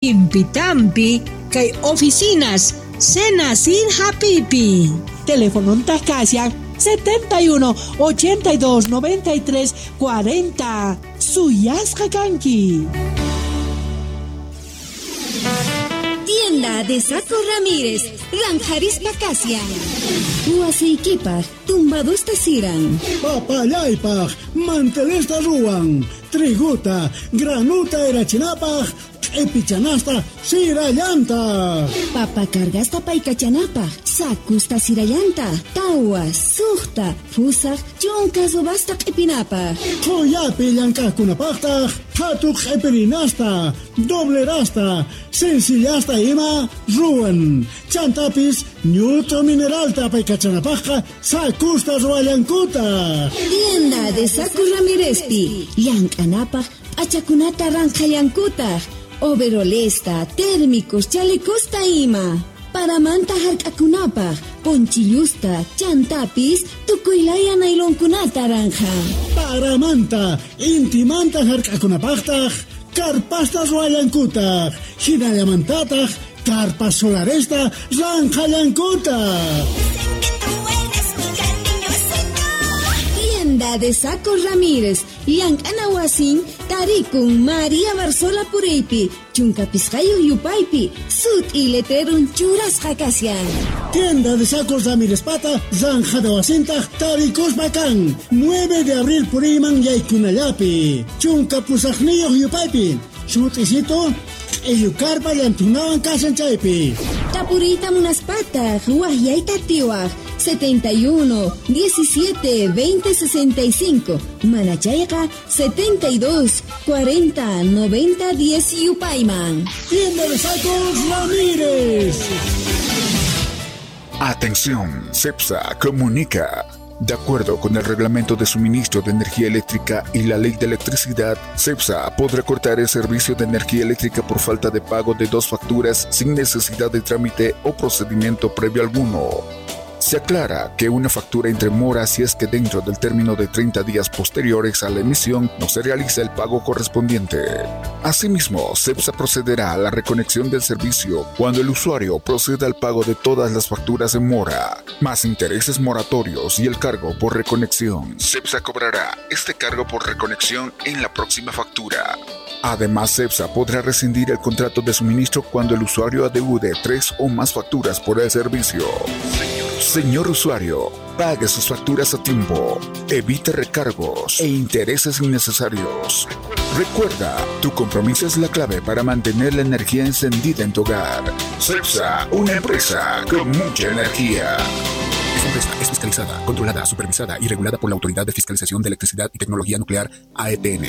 Impitampi kay oficinas Senacid Hapipi. Teléfono Tascasian 71 82 93 40. Suyasqa kanki. Tienda de Saco Ramírez, Ranjarispa Casia. Wasiykipaj, tumbadusta siran. Papallaypaj, mantelesta ruwan. Triguta, granuta erachinapaj, q'ipichanasta sirallanta. Papa cargasta paykachanapaj, sakusta sirallanta, tawa, suqta, fusaj, chunka subasta q'ipinapaj. Qhuyapi llank'aqkunapaqtaq, qhatu q'ipirinasta, doblerasta, sencillasta ima ruwan. Chantapis ñut'u mineralta paykachanapajqa sakusta ruwallankuta. Tienda de Saco Ramírezpi, llank'anapaj p'achakunata ranqhallankutaq. Overolesta, térmicos, chalecosta ima. Paramanta hark'akunapaj, ponchillusta, chantapis, tukuylaya nailonkunata ranja. Paramanta, intimanta hark'akunapajtaj, karpasta ruwallankutaq, hinallamantataq, karpa solaresta ranqhallankutaq. Tienda de Saco Ramírez, llank'ana wasin, tarikun María Barzola Puriypi, chunka pisqayuq yupaypi, sut'i letrerun churasqa kashan. Tienda de Sacos Ramírez pata, ranjada wasintaq tarikuspa kan, 9 de abril puriyman yaykunallapi, chunka pusaqniyuq yupaypi, sut'isito, q'illukarpa llantunawan kashan chaypi. Tapuriyta munaspataq, waqyayta atiwaq, 71 17 20 65, Manachayqa 72 40 90 10 yupayman. Tienda de Sacos Ramírez. Atención, CEPSA comunica. De acuerdo con el Reglamento de Suministro de Energía Eléctrica y la Ley de Electricidad, CEPSA podrá cortar el servicio de energía eléctrica por falta de pago de 2 facturas sin necesidad de trámite o procedimiento previo alguno. Se aclara que una factura entre mora si es que dentro del término de 30 días posteriores a la emisión no se realiza el pago correspondiente. Asimismo, CEPSA procederá a la reconexión del servicio cuando el usuario proceda al pago de todas las facturas en mora, más intereses moratorios y el cargo por reconexión. CEPSA cobrará este cargo por reconexión en la próxima factura. Además, CEPSA podrá rescindir el contrato de suministro cuando el usuario adeude 3 o más facturas por el servicio. Señor usuario, pague sus facturas a tiempo, evite recargos e intereses innecesarios. Recuerda, tu compromiso es la clave para mantener la energía encendida en tu hogar. CEPSA, una empresa con mucha energía. Esta empresa es fiscalizada, controlada, supervisada y regulada por la Autoridad de Fiscalización de Electricidad y Tecnología Nuclear, AETN.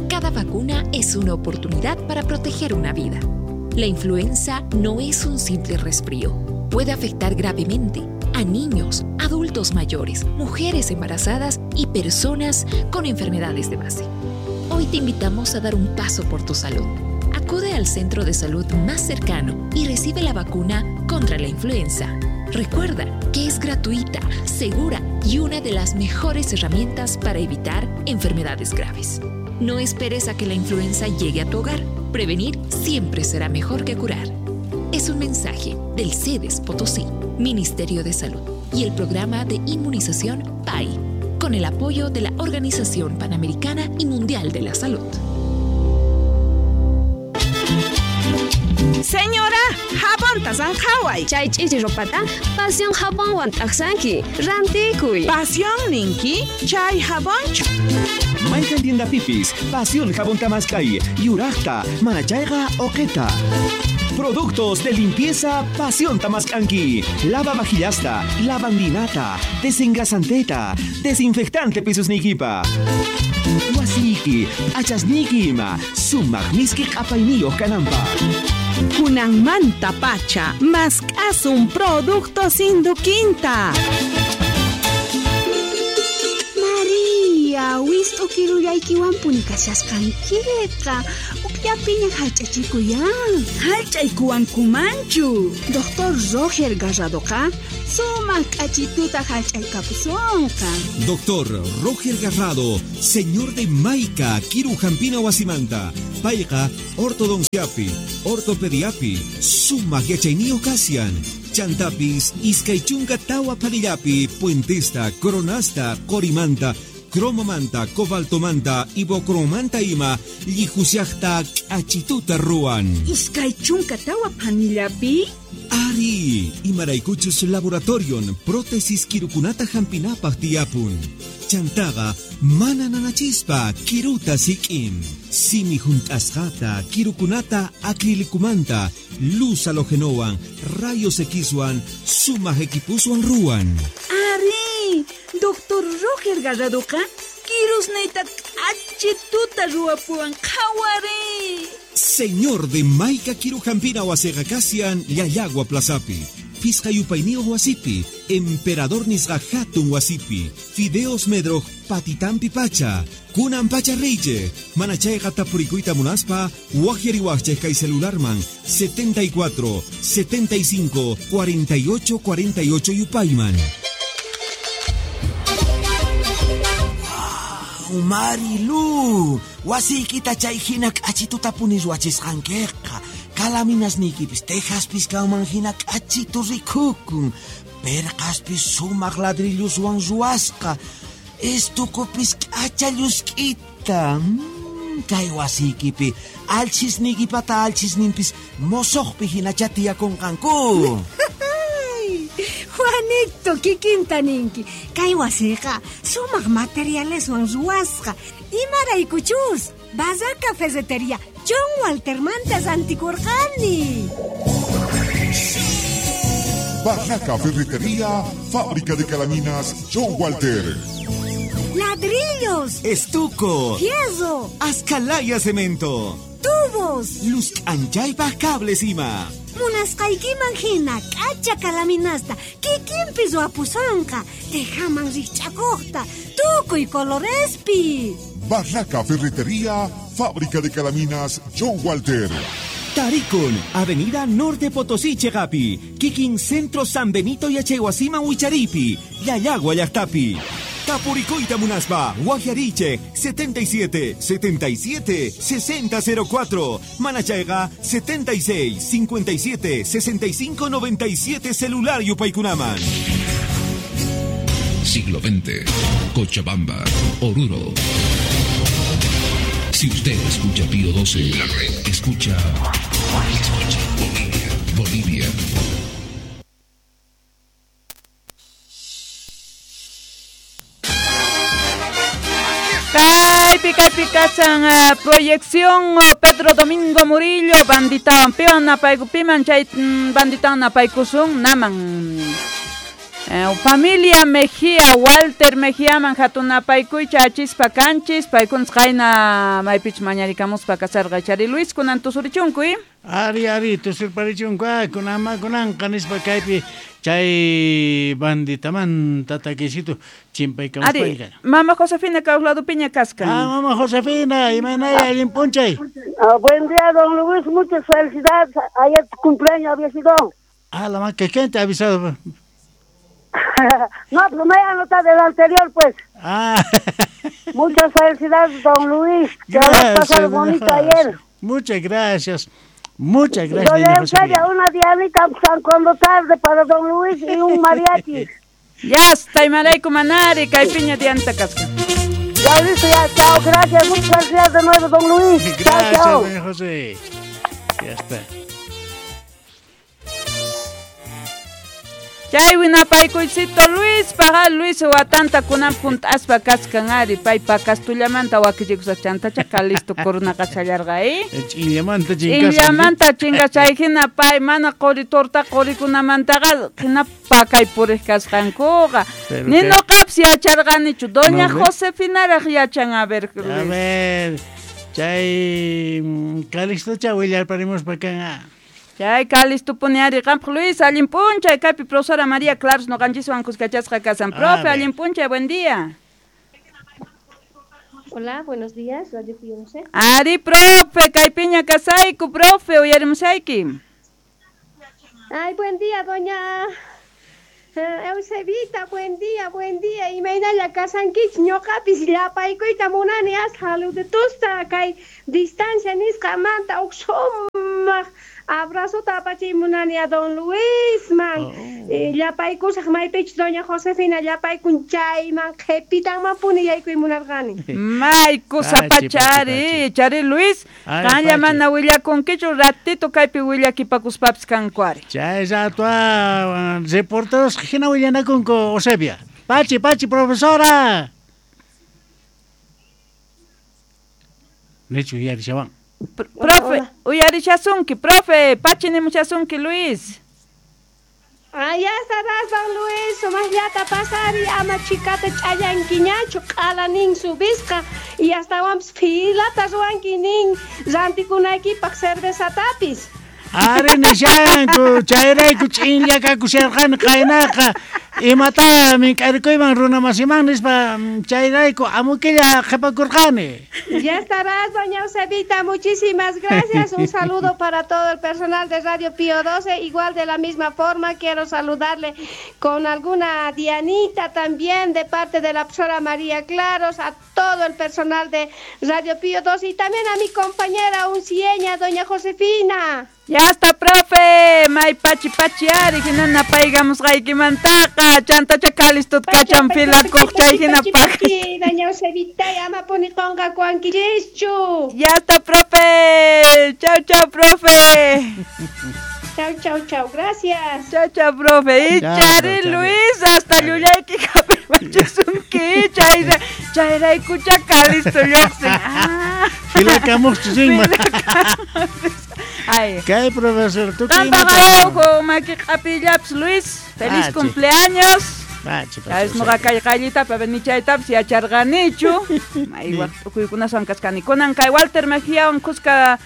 Cada vacuna es una oportunidad para proteger una vida. La influenza no es un simple resfrío. Puede afectar gravemente a niños, adultos mayores, mujeres embarazadas y personas con enfermedades de base. Hoy te invitamos a dar un paso por tu salud. Acude al centro de salud más cercano y recibe la vacuna contra la influenza. Recuerda que es gratuita, segura y una de las mejores herramientas para evitar enfermedades graves. No esperes a que la influenza llegue a tu hogar. Prevenir siempre será mejor que curar. Es un mensaje del CEDES Potosí, Ministerio de Salud y el programa de inmunización PAI, con el apoyo de la Organización Panamericana y Mundial de la Salud. Señora, jabón tasanjaway. Chay ch'ichi ropata, pasión jabonwan t'aqsanki, rantikuy. Pasión ninki, chay jabonchu. Mayqan tienda pipis, pasión jabón tamaskay, yuraqta, manachayqa oqeta. Productos de limpieza Pasión Tamascanqui. Lava vajillasta, lavandinata, desengrasanteta, desinfectante pisusnikipa. Wasiki, achasniki ima, sumaq miski q'apayniyuq kananpaq. Kunanmanta pacha, mask'asun productos Induquinta. María, wist'u kirullaykiwanpuni kashasqankiqa. Kaqllapiña hallch'achikuyan. Hallch'aykuwankumanchu. Doctor Roger Garradoqa sumaq k'achituta hallch'aykapusonqa. Doctor Roger Garrado, señor de Maica, Kiru Jampina Wasimanta, Payqa, Ortodonciapi, Ortopediapi, Sumaq Yachayniyuq Kasian, Chantapis, Iskay Chunka Tawa Panillapi, Puentesta, Coronasta, Corimanta, Cromomanta, Cobaltomanta, Ibocromanta ima, Llijusiajta, K'achituta ruwan. Iskay chunka tawa panillapi? Ari, imaraykuchus laboratorion, prótesis kirukunata hampinapaq tiyapun. Chantaqa, mana nanachispa, kiruta sik'in. Simi hunt'asqata, kirukunata acrilicumanta, luz halogenowan, rayos Xwan, sumaq equipuswan ruwan. Ari, Doctor Roger Garradoqa, kirusniyta k'achituta ruwapuwan qhawari. Señor de Maica Kirujampina wasiqa kasian Llallagua Plazapi, Pisqa yupayniyuq wasipi, Emperador nisqa hatun wasipi, Fideos Medroj patitampi pacha, Kunan pacha reyche, manachayqa tapurikuyta munaspa, waqyariwaqchej kay celularman 74 75 48 48 yupayman. Marilu, wasiykita chay hina k'achituta puni ruwachisqankiqa. Kalaminasniykipis tejaspis kanman hina k'achitu rikukun. Perqaspis sumaq ladrilloswan ruwasqa. Estukupis k'acha llusk'ita. Kay wasiykipi alchisniykipata alchisninpis mosoqpi hinacha tiyakunqanku. Juanito, kikinta ninki. Kay wasiqa sumaq materialeswan ruwasqa. Imaraykuchus, Barraca Ferretería John Waltermanta rantikurqani. Barraca Ferretería, fábrica de calaminas John Walter. Ladrillos, estuco, fierro, ascalaya cemento, tubos, luz anchaypaj cables ima. Munasqaykiman hina k'acha kalaminasta kikinpi ruwapusonqa, tejaman rikch'akuqta, tukuy colorespi. Barraca Ferretería, fábrica de calaminas John Walter. Tarikun, Avenida Norte Potosí, Chegapi, Kikin Centro San Benito y Achehuasima Huicharipi, Llallagua Llaqtapi. Tapuricoita Munaspa, Guajariche, 77 77 60 04, Manachayga, 76 57 65 97, celular Yupaykunaman. Siglo XX, Cochabamba, Oruro. Si usted escucha Pío 12, la red escucha Bolivia, Bolivia. Kaypi kasan proyección Pedro Domingo Murillo banditawan piwan napayku piman chay banditawan napaykusun naman. Familia Mejía, Walter Mejía man hatunapaykuy achispa kanchis paykunas qayna maypich mañarikamuspa kasarqa chari Luis kunan tusurichunkuy. Ari ari tusurparichunku kunama kunanqa nispa kaypi chay banditamanta takisito chimpaykamuspayqa. Mama Josefina Caulado Piña kaskan. Ah, mama Josefina, imaynay allin p'unchay. Buen día, don Luis, muchas felicidades. Ayer tu cumpleaños había sido. Ah, la maca, ¿quién te ha avisado? No, pues me he anotado el anterior, pues. Ah. Muchas felicidades, don Luis. Que lo has pasado bonito ayer. Muchas gracias. Muchas gracias. Doña Eusebia, una dianita San cuando tarde para don Luis y un mariachi. Ya está, imarayku manari, kaypiña dianta kasqa. Ya listo, ya, chao, gracias, muchas gracias de nuevo, don Luis. Gracias, chao, chao. Doña José. Ya está. Chay winapaykuycito Luis, paga Luis watanta kunan punt'aspa kaskan ari, paypa kastullamanta wakichikusaq chantacha Calisto corunaqa challarqa, Ch'inllamanta chinkasqa. Ch'inllamanta chinkasqa hina pay mana quri torta qurikunamantaqa hina pakay puriq kasqankuqa. Ni nuqapis yacharqanichu, doña Josefinaraq yachan, a ver, Luis. A ver, chay Calistocha willarparimuspa kan. Chay Calisto puni ari qampaq Luis, allin p'unchay kaypi profesora María Claros noqanchiswan kuskachasqa kasan. Profe, allin p'unchay, buen día. Hola, buenos días, Radio Pío 12. Ari, profe, kaypiña kasayku, profe, uyarimusayki. Ay, buen día, doña Eusebita, buen día, buen día. Imaynalla kasankichik, ñuqapis llapaykuyta munani as saludutusta kay distancia nisqamanta uq sumaq abrazota apachiy munani a don Luisman. Llapaykusaq maypichus doña Josefina llapaykun chayman qhipitanmanpuni yaykuy munarqani. May kusapachari, chari Luis, qanlla mana willakunkichu ratito kaypi willakipakuspapis kanku ari. Chay rato reporteros hina willanakunku Eusebia. Pachi, pachi, profesora. Nichu uyarishawan. Profe, uyarishasunki, profe, pachi nimushasunki, Luis. Ay, ya estarás, don Luis, sumaqllata pasari, ama chikata ch'allankiñachu, q'ala nin subisqa, y astawanpis filata ruwanki nin rantikunaykipaq cervezatapis. Ari nishanku, chayrayku ch'inlla kakusharqani qaynaqa, imata mink'arikuyman runamasiman nispa chayrayku amukilla qhipakurqani. Ya estarás, doña Eusebita, muchísimas gracias. Un saludo para todo el personal de Radio Pío 12. Igual de la misma forma quiero saludarle con alguna dianita también de parte de la profesora María Claros, a todo el personal de Radio Pío 12 y también a mi compañera uncieña, doña Josefina. Ya está, profe. May pachi pachi ari hinana paygamusqaykimantaqa chantacha kalistut kachan filakuq chay hina paq. Doña Eusebita, ama puni qonqakuwankichischu. Ya está, profe. Chau, chau, profe. Chau, chau, chau. Gracias. Chau, chau, profe. Y chari Luis, hasta llullayki hap'irpachisunki. Chayraykucha kalisto lluqsin. Filakamuqchu rinman. Ay. ¿Qué, profesor? ¿Tú qué? Maki q'apillapas, Luis. Feliz cumpleaños. Nuqa kay qayllitapi nichaytapis yacharqanichu. May tukuykunaswan kachkani. Kunan kay Walter Mejiawan kuska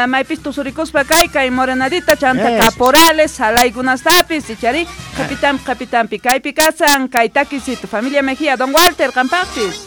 maypis tusurikuspa kay kay Morenadita chanta caporales salaykunastapis ichari qapitampi qapitampi kaypi kasan kay takisito familia Mejía don Walter qampaqpis.